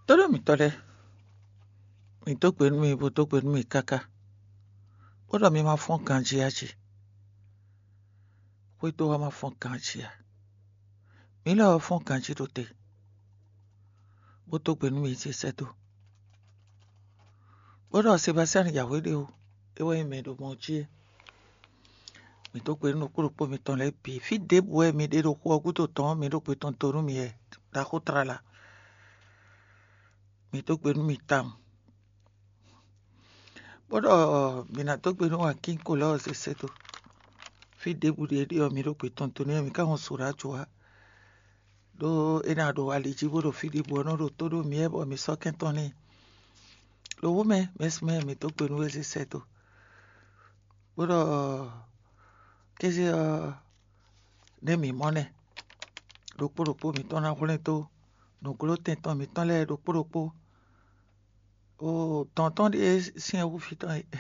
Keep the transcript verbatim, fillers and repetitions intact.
Tónú mǐtɔn lɛ́ɛ, mǐ dó gbe nú mi, bó dó gbe nú mi káká, bó ɖɔ mi ma fɔ́n ganjí ǎ jí. Xwédo wá ma fɔ́n ganjí ǎ. Mǐ lɛ́ ɔ́ fɔ́n ganjí ɖo te, bó dó gbe nú mi ce sɛ́ dó, bó ɖɔ Sebastian yǎwe ɖé ó, é wɛ nyí mɛ e ɖo mɔ jí é. Mǐ dó gbe nú ɖokpó ɖokpó mitɔn lɛ́ɛ bǐ. Fí ɖěbǔ wɛ mi ɖe ɖo xu ɔ́ gúdo tɔn ɔ́, mi ɖó gbe tɔn dó nú mi wɛ ɖaxó tlala. Mi dó gbe nú mi tawun, bó ɖɔ mi ná dó gbe nú Wakín Kolɔ́ɔ sese dó. Fí ɖěbǔ ɖe ɖe ɔ́, mi ɖó gbe tɔn dó nú mi, mi ka hɔn so ɖó ajo wá, ɖó é ná ɖo ali jí bó ɖo fí ɖěbǔ ɔ́ nɔ ɖo tó ɖó mi wɛ bɔ mi sɔ́ kɛn tɔn n'i. Ɖo wú mɛ mɛsumɛ mi dó gbe nú wezesɛ dó, bó ɖɔ kéze ɔ́, nɛ́ mǐ mɔ nɛ́, ɖokpó ɖokpó mǐtɔn ná hwlɛ́n dó nǔgló tɛn tɔn mǐtɔn lɛ́ɛ ɖokpó ɖokpó. O dɔn tɔn ɖíe syɛ́n hú fí tɔn é.